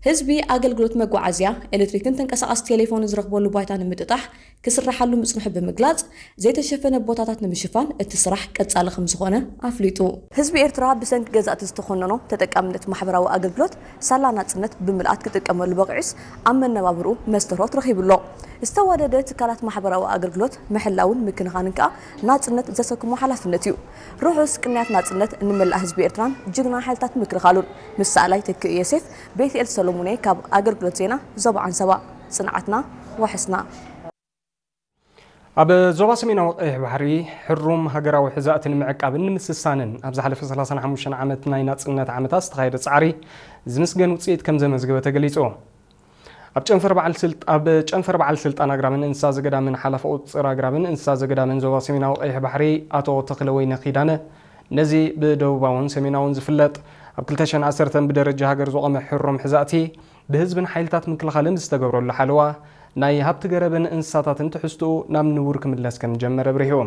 ህዝቢ ኣገልግሎት መጓዓዝያ፣ ኤሌክትሪክን ተንቀሳቓሲ ቴሌፎንን ዝረኽበሉ ባይታ ንምጥጣሕ ክስራሓሉ ምጽንሑ ብምግላጽ፣ ዘይተሸፈነ ቦታታት ንምሽፋን እቲ ስራሕ ቀጻሊ ከም ዝኾነ ኣፍሊጡ። ህዝቢ ኤርትራ ብሰንኪ ገዛእቲ ዝተኾነኖ ተጠቃምነት ማሕበራዊ ኣገልግሎት ሳላ ናጽነት ብምልኣት ክጥቀመሉ በቒዑስ ኣብ መነባብርኡ መስተርሆት ረኺቡ ኣሎ። ዝተዋደደ ትካላት ማሕበራዊ ኣገልግሎት ምሕላውን ምክንኻንን ከኣ ናጽነት ዘሰክሞ ሓላፍነት እዩ። ርሑስ ቅንያት ናጽነት ንመላእ ህዝቢ ኤርትራን ጅግና ሓይልታት ምክልኻሉን። ምስ ሰኣላይ ተክእ ዮሴፍ፣ ቤትኤል ሰሎሙን እየ ካብ ኣገልግሎት ዜና ዞባ ዓንሰባ። ጽንዓትና ዋሕስና። ኣብ ዞባ ሰሜናዊ ቀይሕ ባሕሪ ሕሩም ሃገራዊ ሕዛእቲ ንምዕቃብን ንምስሳንን ኣብ ዝሓለፈ ሰላሳን ሓሙሽተን ዓመት ናይ ናጽነት ዓመታት ዝተኻየደ ጻዕሪ ዝምስገን ውጽኢት ከም ዘመዝገበ ተገሊጹ። ኣብ ጨንፈር በዓል ስልጥ-፣ ኣብ ጨንፈር በዓል ስልጣን ኣግራብን እንስሳ ዘገዳምን ሓላፊ ቁጽር ኣግራብን እንስሳ ዘገዳምን ዞባ ሰሜናዊ ቀይሕ ባሕሪ ኣቶ ተኽለወይነ ኪዳነ፣ ነዚ ብደቡባውን ሰሜናውን ዝፍለጥ ኣብ ክልተ ሽሕን ዓሰርተን ብደረጃ ሃገር ዝቖመ ሕሩም ሕዛእቲ ብህዝብን ሓይልታት ምክልኻልን ዝተገብረሉ ሓለዋ ናይ ሃብቲ ገረብን እንስሳታትን ትሕዝትኡ ናብ ንቡር ክምለስ ከም ዝጀመረ ኣብሪሁ።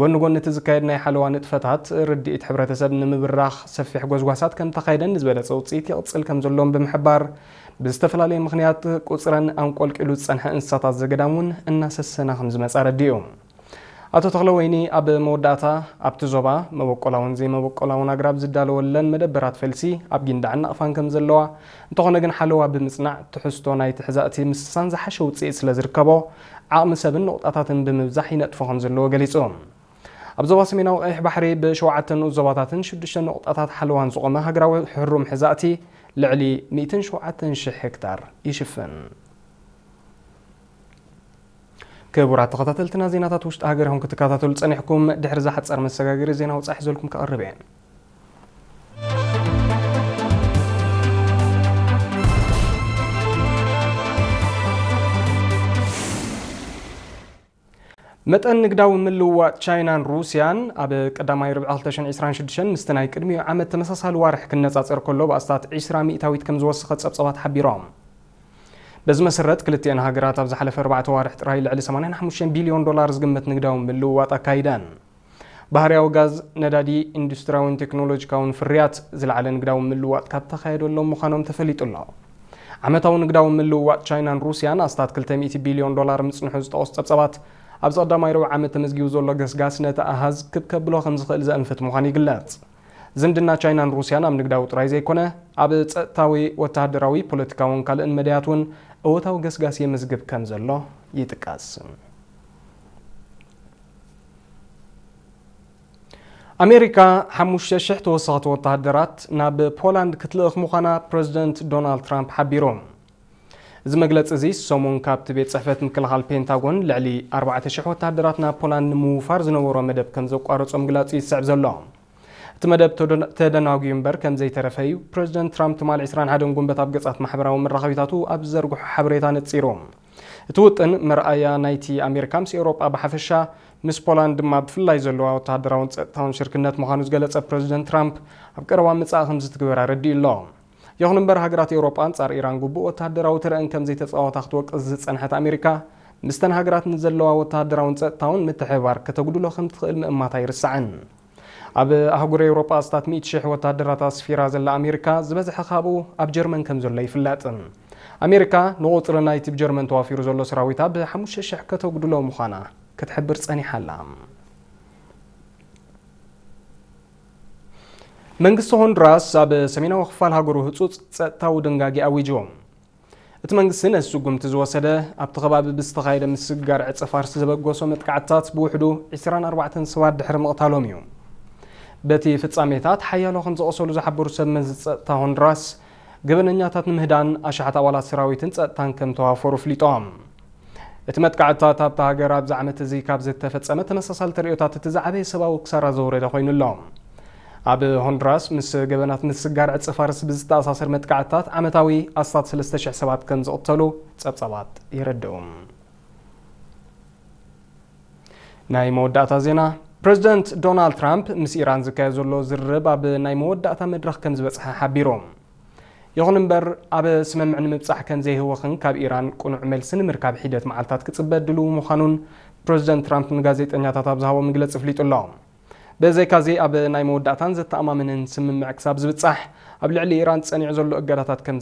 ጎኒ ጎኒ እቲ ዝካየድ ናይ ሓለዋ ንጥፈታት፣ ርድኢት ሕብረተሰብ ንምብራኽ ሰፊሕ ጎስጓሳት ከም ተኻየደን ዝበለጸ ውጽኢት ይቕጽል ከም ዘሎን ብምሕባር፣ ብዝተፈላለየ ምኽንያት ቁጽረን ኣንቆልቂሉ ዝጸንሐ እንስሳታት ዘገዳም እውን እናሰሰና ከም ዝመጻ ኣረዲኡ። ኣቶ ተኽለወይኒ ኣብ መወዳእታ፣ ኣብቲ ዞባ መበቆላውን ዘይመበቆላውን ኣግራብ ዝዳለወለን መደበራት ፈልሲ ኣብ ጊንዳዕን ናቕፋን ከም ዘለዋ፣ እንተኾነ ግን ሓለዋ ብምጽናዕ ትሕዝቶ ናይቲ ሕዛእቲ ምስሳን ዝሓሸ ውጽኢት ስለ ዝርከቦ፣ ዓቕሚ ሰብን ነቑጣታትን ብምብዛሕ ይነጥፎ ከም ዘለዎ ገሊጹ። ኣብ ዞባ ሰሜናዊ ቀይሕ ባሕሪ ብሸውዓተ ንኡስ ዞባታትን ሽዱሽተ ነቑጣታት ሓለዋን ዝቖመ ሃገራዊ ሕሩም ሕዛእቲ ልዕሊ ሚእትን ሸውዓተን ሽሕ ሄክታር ይሽፍን። ክቡራት ተኸታተልትና፣ ዜናታት ውሽጢ ሃገር ኢኹም ክትከታተሉ ጸኒሕኩም። ድሕሪ እዛ ሓጻር መሰጋገሪ ዜና ወጻኢ ሒዘልኩም ክቐርብ እየ። መጠን ንግዳዊ ምልውዋጥ ቻይናን ሩስያን ኣብ ቀዳማይ ርብዒ ክልተ ሽሕን ዕስራን ሽዱሽተን ምስቲ ናይ ቅድሚኡ ዓመት ተመሳሳሊ ዋርሕ ክነጻጸር ከሎ ብኣስታት ዕስራ ሚእታዊት ከም ዝወሰኸ ጸብጻባት ሓቢሮም። በዚ መሰረት ክልቲአን ሃገራት ኣብ ዝሓለፈ ኣርባዕተ ዋርሕ ጥራይ ልዕሊ ሰማንያን ሓሙሽተን ቢልዮን ዶላር ዝግመት ንግዳዊ ምልውዋጥ ኣካይደን። ባህርያዊ ጋዝ፣ ነዳዲ፣ ኢንዱስትሪያውን ቴክኖሎጂካውን ፍርያት ዝለዓለ ንግዳዊ ምልውዋጥ ካብ ተኻየደሎም ምዃኖም ተፈሊጡ ኣሎ። ዓመታዊ ንግዳዊ ምልውዋጥ ቻይናን ሩስያን ኣስታት ክልተ ሚእቲ ቢልዮን ዶላር ምጽንሑ ዝጠቐሱ ጸብጻባት፣ ኣብዚ ቀዳማይ ርብዒ ዓመት ተመዝጊቡ ዘሎ ገስጋስ ነቲ ኣሃዝ ክብ ከብሎ ከም ዝኽእል ዘእንፍት ምዃኑ ይግለጽ። ዝምድና ቻይናን ሩስያን ኣብ ንግዳዊ ጥራይ ዘይኮነ፣ ኣብ ጸጥታዊ፣ ወተሃደራዊ፣ ፖለቲካውን ካልእን መዳያት እውን እወታዊ ገስጋስ የመዝግብ ከም ዘሎ ይጥቀስ። ኣሜሪካ ሓሙሽተ ሽሕ ተወሰኽቲ ወተሃደራት ናብ ፖላንድ ክትልእኽ ምዃና ፕረዚደንት ዶናልድ ትራምፕ ሓቢሩ። እዚ መግለጺ እዚ ሰሙን ካብቲ ቤት ጽሕፈት ምክልኻል ፔንታጎን ልዕሊ ኣርባዕተ ሽሕ ወተሃደራት ናብ ፖላንድ ንምውፋር ዝነበሮ መደብ ከም ዘቋረጾ ምግላጹ ይስዕብ ዘሎ። እቲ መደብ ተደ-፣ ተደናጉዩ እምበር ከም ዘይተረፈ እዩ ፕረዚደንት ትራምፕ ትማሊ ዕስራን ሓደን ጉንበት ኣብ ገጻት ማሕበራዊ መራኸቢታቱ ኣብ ዝዘርግሖ ሓበሬታ ነጺሩ። እቲ ውጥን መርኣያ ናይቲ ኣሜሪካ ምስ ኤውሮጳ ብሓፈሻ፣ ምስ ፖላንድ ድማ ብፍላይ ዘለዋ ወተሃደራውን ጸጥታውን ሽርክነት ምዃኑ ዝገለጸ ፕረዚደንት ትራምፕ፣ ኣብ ቀረባ ምጻእ ከም ዝትግበር ኣረዲኡ ኣሎ። ይኹን እምበር፣ ሃገራት ኤውሮጳ ኣንጻር ኢራን ግቡእ ወተሃደራዊ ተረአን ከም ዘይተጻወታ ክትወቅስ ዝጸንሐት ኣሜሪካ፣ ምስተን ሃገራት ንዘለዋ ወተሃደራውን ጸጥታውን ምትሕብባር ከተጉድሎ ከም ትኽእል ምእማት ኣይርሳዕን። ኣብ ኣህጉር ኤውሮጳ ኣስታት ሚእቲ ሽሕ ወተሃደራት ኣስፊራ ዘላ ኣሜሪካ፣ ዝበዝሐ ካብኡ ኣብ ጀርመን ከም ዘሎ ይፍለጥ። ኣሜሪካ ንቑጽሪ ናይቲ ብጀርመን ተዋፊሩ ዘሎ ሰራዊታ ብሓሙሽተ ሽሕ ከተጉድሎ ምዃና ክትሕብር ጸኒሓ ኣላ። መንግስቲ ሆንዱራስ ኣብ ሰሜናዊ ክፋል ሃገሩ ህጹጽ ጸጥታዊ ድንጋጌ ኣዊጁ። እቲ መንግስቲ ነዚ ስጉምቲ ዝወሰደ፣ ኣብቲ ከባቢ ብዝተኻየደ ምስግጋር ዕጸ ፋርስ ዘበገሶ መጥቃዕትታት ብውሕዱ ዕስራን ኣርባዕተን ሰባት ድሕሪ ምቕታሎም እዩ። በቲ ፍጻሜታት ሓያሎ ከም ዝቖሰሉ ዝሓበሩ ሰብ መዚ ጸጥታ ሆንዱራስ፣ ገበነኛታት ንምህዳን ኣሽሓት ኣባላት ሰራዊትን ጸጥታን ከም ተዋፈሩ ኣፍሊጦም። እቲ መጥቃዕትታት ኣብታ ሃገር ኣብዚ ዓመት እዚ ካብ ዝተፈጸመ ተመሳሳሊ ተርእዮታት እቲ ዝዓበየ ሰብኣዊ ክሳራ ዘውረደ ኮይኑ ኣሎ። ኣብ ሆንዱራስ ምስ ገበናት ምስጋር ዕጸ ፋርስ ብዝተኣሳሰር መጥቃዕትታት ዓመታዊ ኣስታት ሰለስተ ሽሕ ሰባት ከም ዝቕተሉ ጸብጻባት የረድኡ። ናይ መወዳእታ ዜና፣ ፕረዚደንት ዶናልድ ትራምፕ ምስ ኢራን ዝካየድ ዘሎ ዝርርብ ኣብ ናይ መወዳእታ መድረኽ ከም ዝበጽሐ ሓቢሩ። ይኹን እምበር፣ ኣብ ስምምዕ ንምብጻሕ ከም ዘይህወኽን ካብ ኢራን ቅኑዕ መልሲ ንምርካብ ሒደት መዓልታት ክጽበ ድልው ምዃኑን ፕረዚደንት ትራምፕ ንጋዜጠኛታት ኣብ ዝሃቦ መግለጺ ኣፍሊጡ ኣሎ። ብዘይካዚ፣ ኣብ ናይ መወዳእታን ዘተኣማምንን ስምምዕ ክሳብ ዝብጻሕ፣ ኣብ ልዕሊ ኢራን ጸኒዑ ዘሎ እገዳታት ከም